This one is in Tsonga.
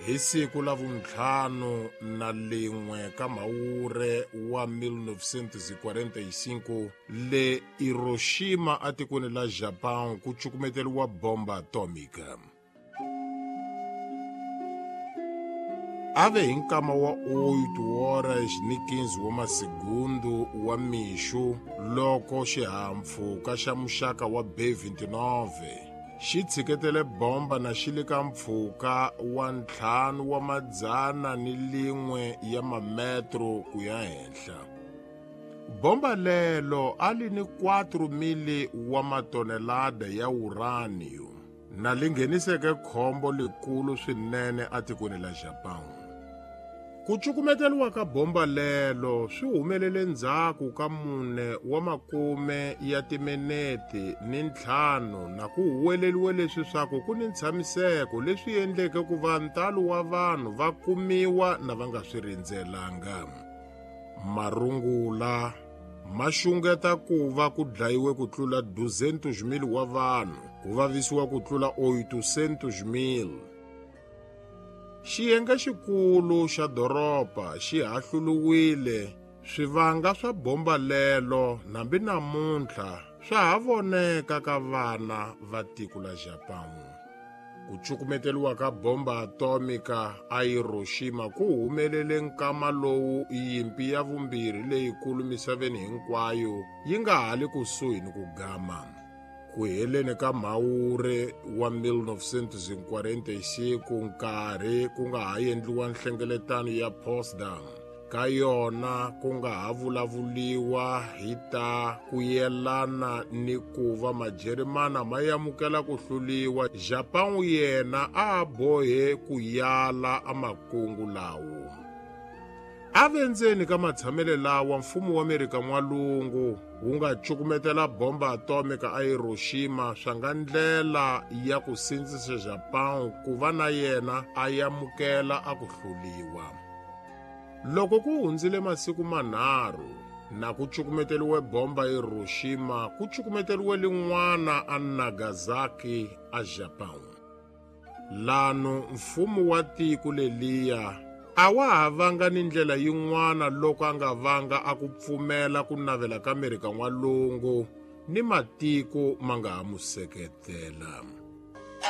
Hi siku la vuntlhanu na lin'we ka Mhawure wa 1945 le Hiroshima atikweni la Japão ku cukumeteriwa bomba atomika. Ave hi nkama wa 8 horas ni 15 wa masegundu wa mixo loko xihahampfhuka xa muxaka wa B-29 xi tshiketele bomba na xi le ka mpfhuka wa ntlhanu wa madzana ni lin'we ya mametro ku ya henhla. Bomba lelo a li ni 4,000 wa matonelada ya uranium na li ngheniseke khombo likulu swinene atikweni la Japão. Ku cukumeteriwa ka bomba lelo swi humelele ndzhaku ka mune wa makume ya timinete ni ntlhanu na ku huweleriwe leswi swaku ku ni ntshamiseko leswi endleke ku va ntalo wa vanhu va kumiwa na va nga swi rindzelanga. Marungula ma xungeta ku va ku dlayiwe ku tlula 200,000 wa vanhu, ku vavisiwa ku tlula 800,000. Xiyenge xikulu xa doroba xi hahluriwile, swivanga swa bomba lelo nambi namuntlha swa ha voneka ka vana va tiko la Japão. Ku cukumeteriwa ka bomba atomika a Hiroshima ku humelele nkama lowu yimpi ya vumbirhi leyikulu misaveni hinkwayo yi nga ha li kusuhi ni ku gama. Ku heleni ka Mhawure wa 1945 nkarhi ku nga ha endliwa nhlengeletano ya Potsdam ka yona ku nga ha vulavuliwa hi ta ku yelana ni ku va Majerimana ma amukela ku hluliwa. Japão yena a a bohe ku yala a makungu lawo. A ve ndzeni ka matshamele lawa mfumo wa Amerika N'walungu wu nga cukumetela bomba atomika a Hiroshima swa nga ndlela ya ku sindzisa Japão ku va na yena a amukela a ku hluliwa. Loko ku hundzile masiku manharhu na ku cukumeteriwe bomba Hiroshima, ku cukumeteriwe lin'wana a Nagasaki a Japão. Lano mfumo wa tiko leliya a wa ha vanga ni ndlela yin'wana loko a nga vanga a ku pfumela ku navela ka Amerika N'walungu ni matiko ma nga ha mu seketela.